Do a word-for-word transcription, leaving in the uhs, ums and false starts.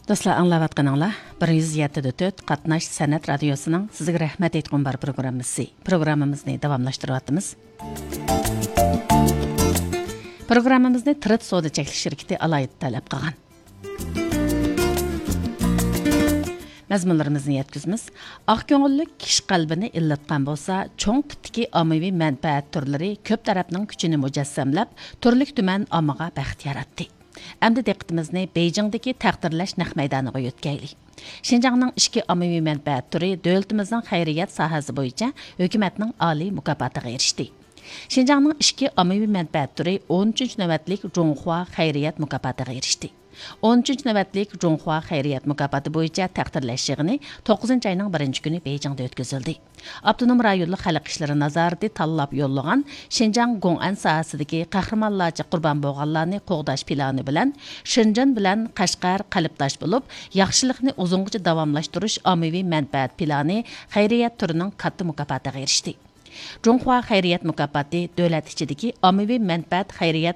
دوستلار، ئاڭلاۋاتقىنىڭلار بىر يۈز يەتتە دە تۆت قاتناش سەنئەت رادىيوسىنىڭ سىزگە رەھمەت ئېيتقۇم بار پروگراممىسى. پروگراممىمىزنى داۋاملاشتۇرۇۋاتىمىز. پروگراممىمىزنى تىرىت سودا چەكلىك شىركىتى ئالاھىدە تەلەپ قىلغان. مەزمۇنلىرىمىزنى يەتكۈزىمىز. ئاق كۆڭۈللۈك كىشى قەلبىنى ئىللىتقان بولسا، چوڭ تىپتىكى ئاممىۋى مەنپەئەت تۈرلىرى كۆپ تەرەپنىڭ كۈچىنى مۇجەسسەملەپ، تۈرلۈك تۈمەن ئاممىغا بەخت ياراتتى. ئەمدى دىققىتىمىزنى بېيجىڭدىكى تەقدىرلەش نەق مەيدانىغا يۆتكەيلى. شىنجاڭنىڭ ئىچكى ئاممىۋى مەنپەئەت تۈرى دۆلىتىمىزنىڭ خەيرىيەت ساھەسى بويىچە ھۆكۈمەتنىڭ ئالىي مۇكاپاتىغا ئېرىشتى. شىنجاڭنىڭ ئىچكى ئاممىۋى مەنپەئەت تۈرى ئون ئۈچىنچى نۆۋەتلىك جۇڭخۇا خەيرىيەت مۇكاپاتىغا ئېرىشتى. ئون ئۈچىنچى نۆۋەتلىك جۇڭخۇا خەيرىيەت مۇكاپاتى بويىچە تەقدىرلەش يىغىنى توققۇزىنچى ئاينىڭ بىرىنچى كۈنى بېيجىڭدا ئۆتكۈزۈلدى. ئاپتونوم رايونلۇق خەلق ئىشلىرى نازارىتى تاللاپ يوللىغان شىنجاڭ گوڭئەن ساھەسىدىكى قەھرىمانلارچە قۇربان بولغانلارنى قوغداش پىلانى بىلەن شېنجېن بىلەن قەشقەر قەلبداش بولۇپ، ياخشىلىقنى ئۇزۇنغىچە داۋاملاشتۇرۇش ئاممىۋى مەنپەئەت پىلانى خەيرىيەت تۈرىنىڭ كاتتا مۇكاپاتىغا ئېرىشتى. جۇڭخۇا خەيرىيەت مۇكاپاتى دۆلەت ئىچىدىكى ئاممىۋى مەنپەئەت خەيرىيەت